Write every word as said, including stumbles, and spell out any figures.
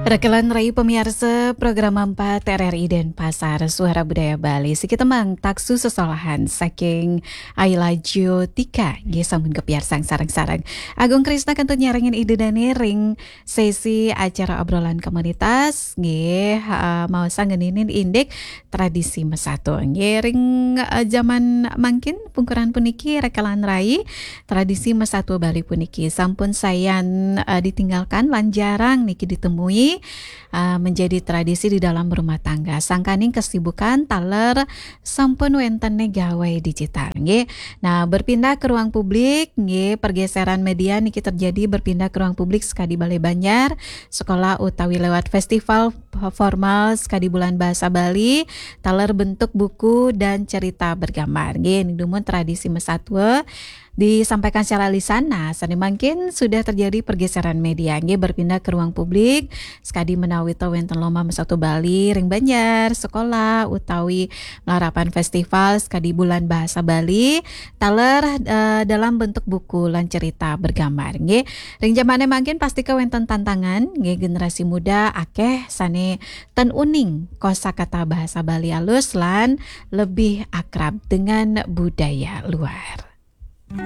Rekelan rai pamiarsa program empat R R I Denpasar, Suara Budaya Bali. Siki tembang Taksu Sesolahan saking Ayla Jyotika, nggih sampun kapiarsang sareng-sareng. Agung Krisna kantun nyarengin Ida Dane ring sesi acara obrolan komunitas, nggih, eh, maosang ngeninin indik tradisi mesatua. Nggih, ring, eh, jaman mangkin pungkuran puniki rekelan rai tradisi mesatua Bali puniki sampun sayan, eh, ditinggalkan lan jarang niki ditemui, eh, menjadi tradisi di dalam rumah tangga. Sangkaning kesibukan taler sampun wenten gawai digital, nggih. Nah, berpindah ke ruang publik, nggih, pergeseran media niki terjadi berpindah ke ruang publik sekadi Balai Banjar, sekolah utawi lewat festival formal sekadi Bulan Bahasa Bali, taler bentuk buku dan cerita bergambar. Nggih, ning dumun tradisi mesatua disampaikan secara lisan. Nah, sane mangkin sudah terjadi pergeseran media, nggih, berpindah ke ruang publik, sekadi menawi to wenten lomba mesatua Bali ring Banjar, sekolah, utawi malarapan festival sekadi Bulan Bahasa Bali, taler, eh, dalam bentuk buku lan cerita bergambar, nggih. Ring jamane mangkin pasti kawenten tantangan, nggih, generasi muda akeh sane ten uning kosakata bahasa Bali alus lan lebih akrab dengan budaya luar.